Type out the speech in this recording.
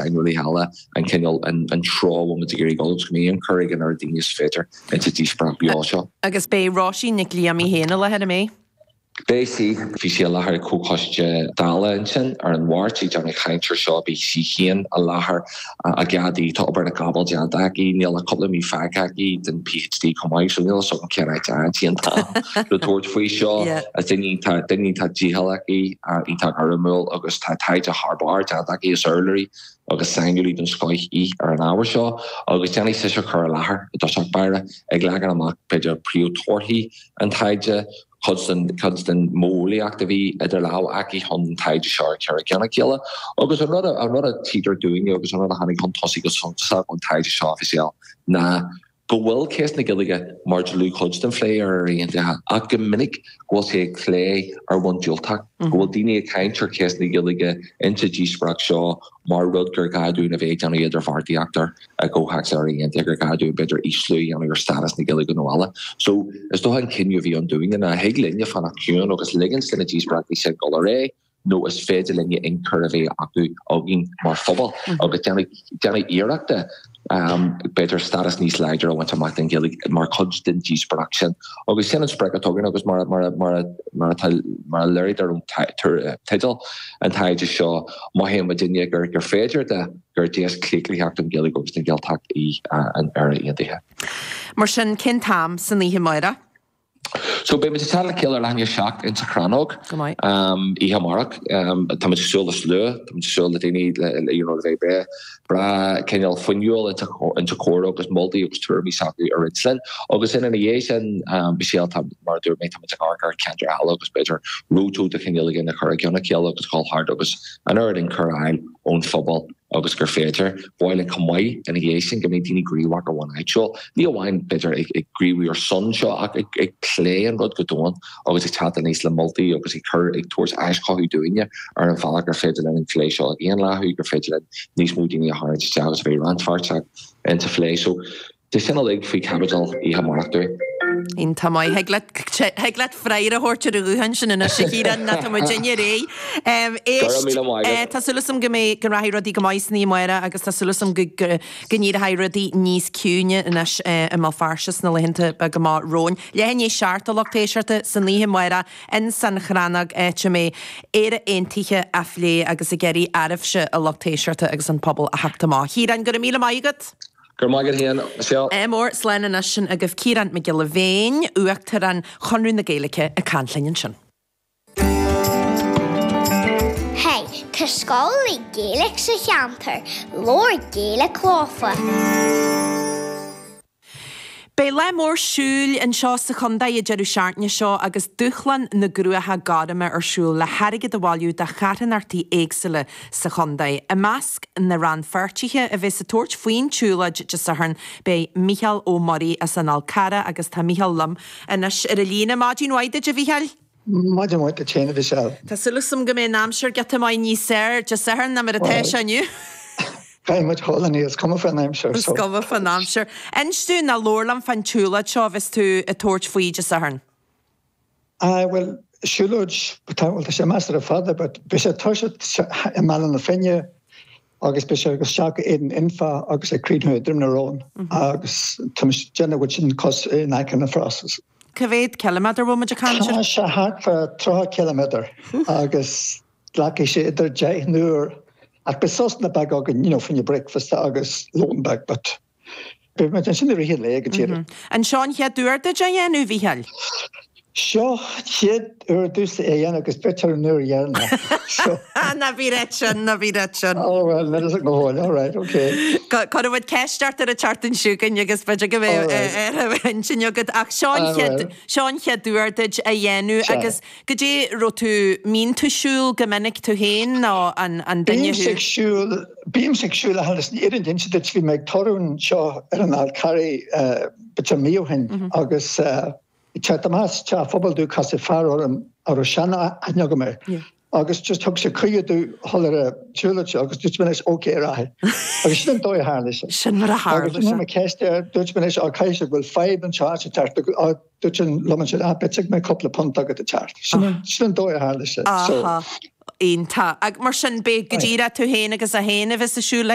saineolaithe eile an cineál, an treo a bhfuil muid ag iarraidh dul agus go mbeidh ionchur ag an oiread daoine is féidir insa díospóireacht bheo seo. Agus beidh Róisín Nic Liam í féin i láthair, an mbeidh? Beidh sí. Bhí sí i láthair ag Comhchoiste Dála ansin ar an Mháirt ag déanamh caint ar seo. Beidh sí féin i láthair i gcead di. Tá obair na gcapall déanta aici. Níl ach cúpla mí fágtha aici den PhD chomh maith so níl a fhios agam cén áit a fhaigheann sí an t-am le tabhairt faoi seo. Is duine iontach, duine iontach dícheallach í, iontach gairmiúil agus tá taighde thar barr déanta aici. Is urlabhraí agus saineolaí den scoith í ar an ábhar seo agus déanfaidh sise cur i láthair i dtosach báire ag leagan amach b'fhéidir príomhthorthaí an taighde, cuid den, cuid den mhodheolaíocht a bhí idir lámha aici chun an taighde seo a chur i gceann a chéile. Agus an rud a, an rud a tchítear dúinne agus an rud a tháinig chun tosaigh go suntasach ón taighde seo, a Mhichelle, ná go bhfuil ceist na Gaeilge mar dlúthchuid den phlé ar Éire Aontaithe ach go minic go bhfuil sé ag plé ar bhonn diúltach, go bhfuil daoine ag caint ar cheist na Gaeilge insa díospóireacht seo mar rud gur gá dúinn a bheith ag déanamh idirbheartaíocht air i gcomhthéacs Éire Aontaithe, gur gá dúinn b'fhéidir ísliú a dhéanamh ar stádas na Gaeilge nó eile. So, is dócha an cinneadh a bhí ann dúinne ná thig linne fanacht ciúin agus ligint do na díospóireachtaí sin dul ar aghaidh nó is féidir linne ionchur a bheith acu againn mar phobal agus déanamh déanamh iarrachta b'fhéidir stádas níos láidre a bhaint amach don Ghaeilge mar chuid den díospóireacht sin. Agus sin an sprioc atá againn agus mar mar mar mar atá mar a léirítear ón teideal an taighde seo, mothaíonn muidinne gur gur féidir de gur deis claochlaitheach don Ghaeilge agus don Ghaeltacht í an Éire Aontaithe. Mar sin, cén t-am san oíche amárach? So beidh muid ag teacht le chéile ar leath i ndiaidh 7 insa Chrannóg Go maith. oíche amárach. Tá muid ag súil le slua, tá muid ag súil le daoine le you know le bheith breá breá cineál fuinniúil insa insa chomhrá agus moltaí agus tuairimí s'acu a roinnt linn. Agus ina dhiaidh sin Michelle tá mar a dúirt mé tá muid ag amharc ar cheantair eile agus b'fhéidir roadshow de chineál éigin a chur i gceann a chéile agus dhul thart agus an oiread ionchur a fháil ón phobal agus gur féidir. Ba mhaith linn chomh maith ina dhiaidh sin go mbeidh daoine gníomhach ar bhonn áitiúil, ní amháin b'fhéidir ag gníomhú ar son seo ach ag plé an rud go domhain agus ag teacht aníos le moltaí agus ag cur, ag tabhairt aischothú dúinne ar an bhealach gur féidir linn an phlé seo a dhaonlathú, gur féidir linn níos mó daoine a tharraingt isteach agus a bheith rannpháirteach insa phlé. So. Tá sin uilig faoi chaibidil oíche amárach dúinn. Iontach maith. Thig leat, thig leat freagra a thabhairt ar an ghuthán sin anois a Chiaráin, nó tá muidinne réidh. Go raibh míle maith agat. Tá súil agam go mbeidh, go rachaidh rudaí go maith san oíche amárach agus tá súil agam go, go, go n-éireoidh rudaí níos ciúine anois i mBéal Feirste sna laethanta beaga amach romhainn. Leath i ndiaidh 7 a lucht éisteachta san oíche amárach ins an Chrannóg áit a mbeidh Éire Aontaithe á phlé agus ag iarraidh oraibhse a lucht éisteachta agus an pobal a theacht amach. Chiaráin, go raibh míle maith agat. Go raibh maith agat féin, Michelle. Ádh mór, slán anois sin agaibh Ciarán Mac Giolla Bhéin, Uachtarán Chonradh na Gaeilge ag caint linn ansin. Hey, tá scoil le Gaeilge sa cheantar, labhair Gaeilge leofa. Beidh lá mór siúil anseo sa chontae an deireadh seachtaine seo agus Dúshlán na gCruacha Gorma ar siúl le hairgead a bhailiú do charthanachtaí éagsúla sa chontae. I measc na rannpháirtithe a bheas ag tabhairt faoin tsiúlóid Dé Sathairn beidh Mícheál Ó Muirí as an Fhál Carrach agus tá Mícheál liom anois ar an líne. Maidin mhaith duit a Mhícheáil. Maidin mhaith duit féin a Mhichelle. Tá súil agam go mbeidh an aimsir giota maith níos fearr Dé Sathairn ná mar atá sé inniu. Beidh muid thall inniu, is cuma fán aimsir. Is cuma fán aimsir. Inis dúinn nó labhair liom fán tsiúlóid seo a bheas tú ag tabhairt faoi Dé Sathairn. Aye, bhuel, siúlóid, tá, bhuel, tá sé measartha fada, but beidh sé ag toiseacht i mBaile na Finne agus beidh sé ag isteach go Éadan Anfa agus ag críochnú i Droim na Rón agus tá muid ag déanamh go bhfuil sin cos in aice na Frosses. Cá mhéad ciliméadar bhfuil muid ag caint air? Tá sé thart fá 30 ciliméadar agus glacfaidh sé idir 10 n-uair ach beidh sosanna beaga againn, you know, fá choinne breakfast agus lón beag, but Beidh muid ansin i rith an lae go díreach. An seo an chéad uair duit é a dhéanamh, a Mhícheáil? Seo an chéad uair domhsa é a dhéanamh agus b'fhéidir an uair dheireanach. So. Ná bí ag ráit sin, ná bí ag ráit sin. Oh well, níl a fhios agam go fóill, all right, okay. Cuirfidh muid ceist ort ar an tseachtain seo chugainn agus b'fhéidir go mbeidh ar intinn agat. Ach seo an chéad, seo an chéad uair duit é a dhéanamh agus goidé raibh tú, mbíonn tú ag siúl go minic tú féin nó an duine thú? Bímse ag siúl Bímse ag siúl ach leis an fhírinne a inse duit, bhí mé ag tórramh anseo ar an Fhál Carraigh b'fhéidir mí ó shin agus ag teacht amach as teach phobail do casadh fear orm a raibh sean-aithne agam air agus just thug sé cuireadh domh dhul ar an tsiúlóid seo agus dúirt mé leis ok ar aghaidh. Agus sin an dóigh a tharla sé. Sin mar a tharla sé. Agus chuir mé ceist air, dúirt mé leis á caithfidh sé go bhfuil fadhb anseo sa teach dúirt sé liom ansin ah b'fhéidir go mbeidh cúpla punt agat ag teacht. Sin an dóigh a tharla sé. So. Iontach. Ach mar sin, beidh go díreach tú féin agus é féin a bheas ag siúl le.